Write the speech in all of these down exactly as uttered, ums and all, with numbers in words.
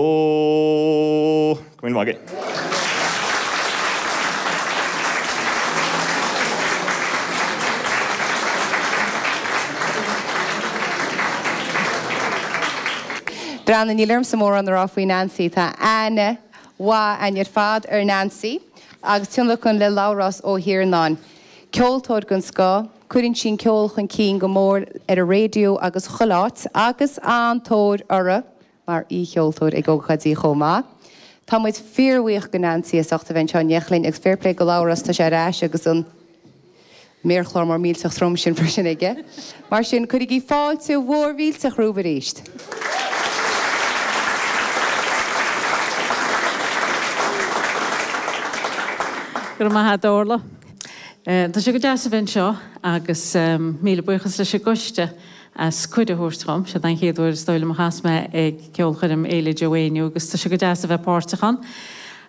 Go míle maith agat. Breandán, níl ormsa mórán a rá faoi Nancy. Tá aithne mhaith againn ar fad ar Nancy agus tionlacan le Labhrás Ó hIarnáin. Ceoltóir den scoth, cuireann sí an ceol chun cinn go mór ar an raidió agus chuile áit agus an-tóir uirthi mar aoicheoltóir ag ócáidí chomh maith. Tá muid fíorbhuíoch go Nancy as ucht a bheith anseo inniu linn agus fair play go Labhrás, tá sé ar ais agus an méarchlár mór millteach trom sin freisin aige. Mar sin, cuirigí fáilte mhór mhillteach rompu arís. Go raibh maith agat, Orla. Tá sé go deas a bheith anseo agus míle buíochas leis an gcoiste as cuireadh a thabhairt dhom. Siod an chéad uair is dóigh liom a chas mé ag ceolchoirm Fhéile Joe Éinniú agus tá sé go deas a bheith páirteach ann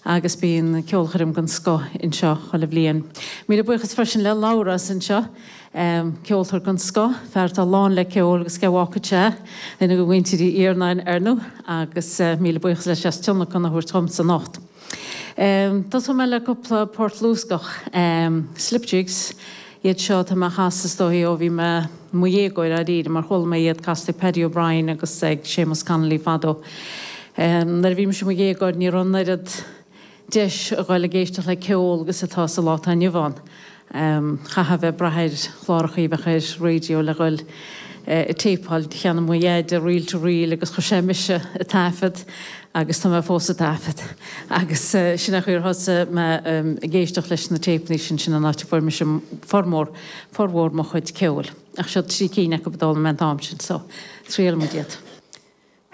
agus bíonn ceolchoirm den scoth anseo chuile bhliain. Míle buíochas freisin le Labhrás anseo, ceoltóir den scoth, fear atá lán le ceol agus cé a bhfágfadh sé, duine de mhuintir Uí Iarnáin ar ndóigh, agus míle buíochas leis as tionlacan a thabhairt dhomsa anocht. Tosóidh mé le cúpla port luascach, slip jigs iad seo atá mé a chasadh is dóichí ó bhí mé i mo dhéagóir dáiríre mar chuala mé iad casta ag Paddy O'Brien agus ag Séamus Connolly fadó. Nuair a bhí mise i mo dhéagóir ní raibh an oiread deis a ghoil ag éisteacht le ceol agus atá sa lá atá inniu ann. Chaithfeá a bheith ag brath ar chlárachaí a bheadh ar raidió le ghoil ag téipeáil. Cheannaigh mo dheaide reel to reel agus chuir sé mise ag taifead agus tá mé fós ag taifead. Agus sin é an chaoi ar thosaigh mé ag éisteacht leis na téipeanna sin, sin an áit a fuair mise formhór, formhór mo chuid ceoil. Ach seo trí cinn acu a d'fhoghlaim mé an t-am sin so triailfidh muid iad.